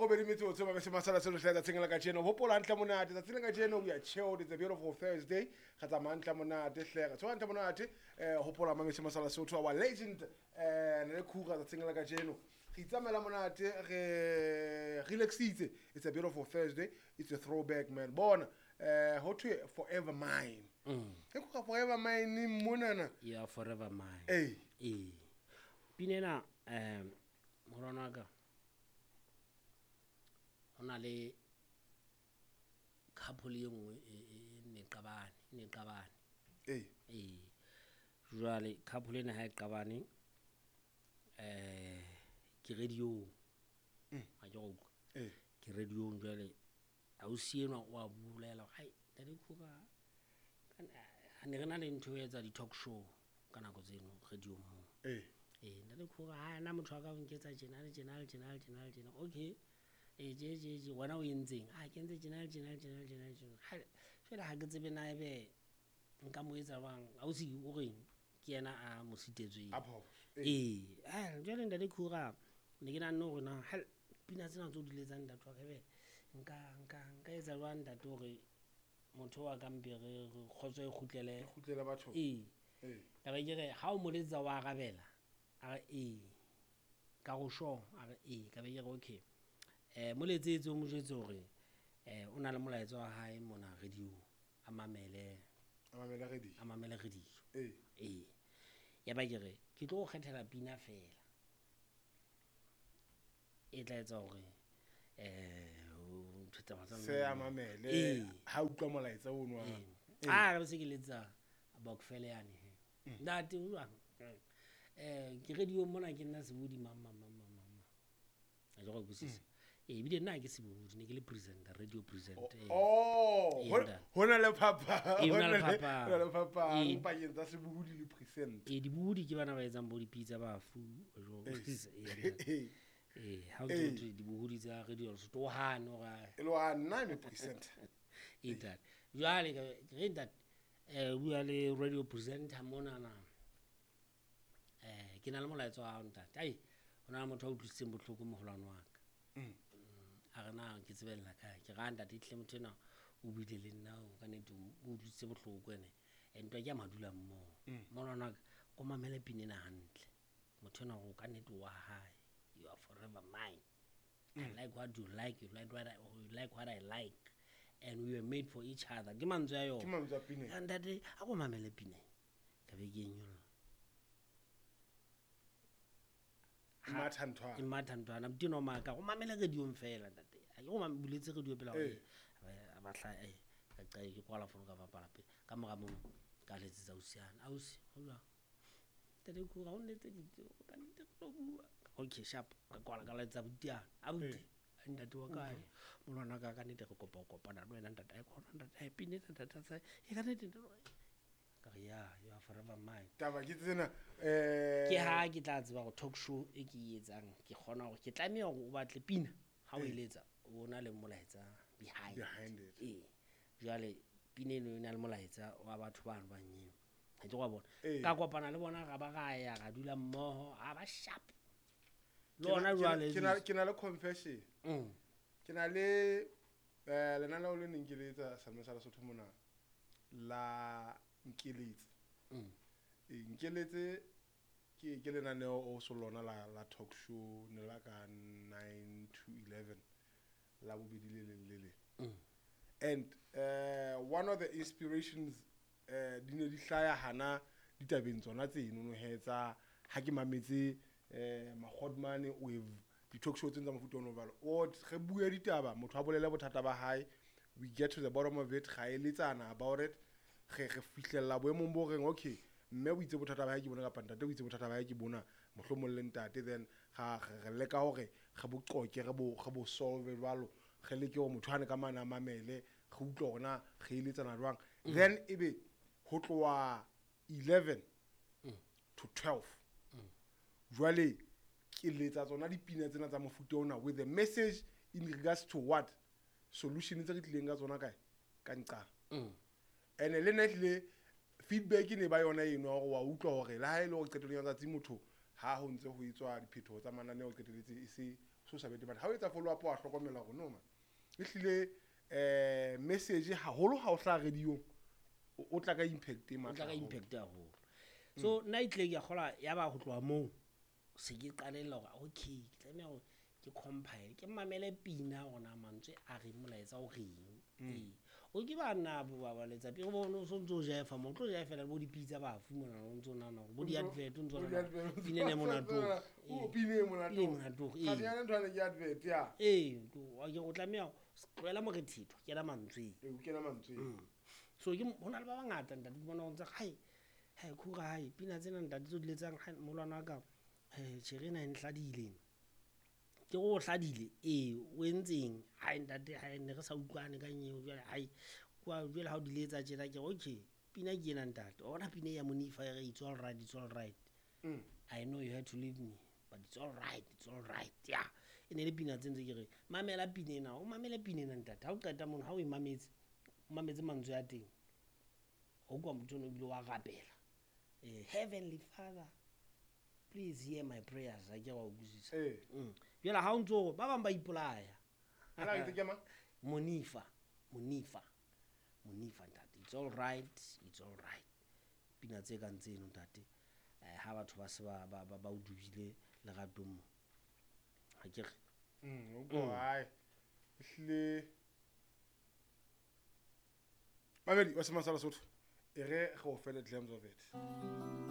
Robedi metsotso ba bese masala selo hle tsatsing la kajeno. Hopola hantle monate tsatsing la kajeno, we are chilled. It's a beautiful Thursday. Re tsamaya hantle monate hle, re tsoha hantle monate. Hopola mametse masala Sotho, our legend ne le khura tsatsing la kajeno. Re itsamaela monate, re relaxitse. It's a beautiful Thursday. It's a throwback, man. Bona ho thwe forever mine. E khura forever mine monana. You are forever mine. Ee. Ee, pina ena, morwana wa ka, ho na le couple e nngwe e ne qabane, e ne qabane. Ee, jwale couple ena ha e qabane, ke radio, ha ke go utlwa. Ee. Ke radiong jwale, ausi enwa o a bolela hore ai, ntate Khura, ha ne re na le ntho e etsa di-talk show ka nako tseno radiong moo. Ee, ntate Khura, ha na motho wa ka o nketsa tjena le tjena le tjena le tjena le tjena. Okay, ee, tje tje tje, wena o entseng? A ke entse tjena le tjena le tjena le tjena le tjena. Jwale ha ke tsebe na ebe nka mo etsa jwang. Ausi o reng ke yena a mo sitetsweng. A phoso. Ee, jwale ntate Khura, ne ke nahanne hore na pina tsena tse o di letsang ntate wa ka, ebe nka etsa jwang ntate hore motho wa ka mpe re kgotso e kgutlele. E kgutlele bathong. Ee. Ee. Ka be ke re ha o mo letsetsa wa arabela, a re ee. Ka go sure, a re ee. Ka be ke re okay, mo letsetse o mo jwetse hore o na le molaetsa wa hae mona radio, a mamele. A mamele radio. A mamele radio. Ee. Ee, ya ba ke re ke tlo go kgethela pina fela e tla etsa hore ntho tsa Se a mamele. Ee. Ha utlwa molaetsa ono wa. Ee. A re se ke letsa Bokfele yane he. Ntate o jwang? Ke radio mona, ke nna sebodi mang mang mang mang mang. A ke go utlwisisa. Ee, ebile nna ha ke sebodi, ne ke le presenter, radio presenter. Ee. Oh, Ee, ntate. ho na le phapang. Ee, ho na le phapang. Ho na le phapang Ee. pakeng tsa sebohodi le presenter. Ee, dibohodi ke bana ba etsang bo dipitsa bafu, jwalo. Ee. Ee, ntate. Ee, ha o Ee. ntse ho thwe dibohodi tsa radio Lesotho, o hane hore E le wa nna me presenter. Ee, ntate. Jwale ke re ntate, o bua le radio presenter monana. Ke na le molaetsa wa hao ntate. Ai, ho na le motho a utlwisitseng bohloko moholwane wa ka. A re na ke tsebella kae? Ke ra ntate ehlile motho enwa o buile le nna, o ka nnete o utlwisitse bohloko ene. Ntwa ke ya madula mmoho. Moholwane wa ka, ko mamele pina ena hantle. Motho enwa o ka nnete wa hae. You are forever mine. I like what you like, you like what I, you like what I like. And we were made for each other. Ke mantswe a yona. Ke mantswe a pina. Ya ntate, a ko mamele pina. Ka be ke e nyolla. Matha nthwana. E matha nthwana. Motho enwa o maka, o mamele radio-ng fela ntate. Ha ke go buletse radio pela hore Ee. a batla, ka qala ke kwala fono ka bapala pele. Ka mora mono, ka letsetsa ausi yane. Ausi, ho jwang? Ntate Khura, o nletseditse, ka nnete re tlo bua. Okay, sharp. Ka kwala ka letsetsa abuti yane. Abuti, ntate wa kae? Molwana wa ka, ka nnete re kopa ho kopana le wena ntate. Ai, khona ntate, ai, pina ena ntate, a sa, e ka nnete ntate. Ka re, ya, you are forever mine. Taba ke tsena, Ke ha ke tla tseba hore talk show e ke e etsang, ke kgona hore ke tlameha hore o batle pina ha o e letsa, o na le molaetsa behind. Behind it. Ee. Jwale pina eno e na le molaetsa wa batho bano ba nyeo. Ha ke go bona. Ee. Ka kopana le bona, ra ba ra ya, ra dula mmoho, ha ba sharp. Le Ke hona jwale ke na le confession. Ke na le lenaneo le neng ke le etsa Salome sa Lesotho mona la Nkeletse. Ee, Nkeletse ke lenaneo o so lona la talk show, ne la ka 9 to 11 la bobedi le leng le leng. And one of the inspirations, di ne di hlaya hana ditabeng tsona tseno no he tsa ha ke mametse, Magodmane with di-talk show tseno tsa mofuta ono jwalo. O re bue ditaba, motho a bolele bothata ba hae, we get to the bottom of it, ra eletsana about it, re fihlella boemong bo reng okay, mme o itse bothata ba hae ke bona kapa ntate o itse bothata ba hae ke bona, mohlomong le ntate, then re leka hore re bo qoke, re bo solve jwalo, re leke hore motho ane ka mane a mamele, re utlwe hore na re eletsana jwang. Then ebe ho tloha 11 to 12. Jwale ke letsa tsona dipina tsena tsa mofuta ona with the message in regards to what solution tse re tlileng ka tsona kae ka nqang. And le nna ehlile feedback e ne ba yona eno ya hore wa utlwa hore le ha e le hore qetellong ya letsatsi motho Ha ho ntse ho etswa diphetoho tsa mananeo qetelletse e se so sa bete, but ha o etsa follow up wa hlokomela hore no man, ehlile message haholo ha o hlaha radio o tla ka impact e O matla tla ka haholo. impact haholo. So nna e tlile ke a kgolwa ya ba ho tloha moo se ke qalella hore okay, ke tlameha hore ke compile, ke mamele pina hore na mantswe a reng, molaetsa o reng. Ee, o ke ba nna bo ba ba letsa pele bo no so ntso jaefa mo tlo jaefela bo dipitsa bafu mona, o ntso nahana hore bo di-advert, o ntso Bo nahana di-advert, pina ena e monate o. O, pina e monate Pina e o. monate o, Kgane ee. yana ntho ane ke advert, ya. Ee, o tlameha tlohela morethetho, kena mantsweng. Ee, o kena mantsweng. So ke ho na le ba bangata ntate, ke bona ho ntse hai hai khura hai pina tsena ntate tseo di letsang hai molwana wa ka, tjhere ena e nhladile. Ke re o hladile, ee, o entseng? Hai ntate, hai ne re sa utlwane ka nyeo jwale, hai kwa jwale ha o di letsa tjena ke re okay, pina ke ena ntate. Wa bona pina e ya Monifa e re it's all right, it's all right. I know you had to leave me, but it's all right, it's all right. Yeah. E ne le pina tse ntse ke re mamela pina ena, o mamele pina ena ntate. Ha o qeta mono, ha o e mametse, o mametse mantswe a teng. Ho kwa motho ono ebile wa rapela. Heavenly Father, please hear my prayers. Ha ke wa utlwisisa. Jwale ha o ntso hore ba bang ba ipolaya. Ana ke ke mang? Monifa, Monifa, Monifa ntate. It's all right, it's all right. Pina tse kang tseno ntate. Ha batho ba se ba o dubile leratong mo. Ha ke re. O kwa hae. Ehlile. Mamedi wa Semang sa Lesotho. E re go fele glimpse of it.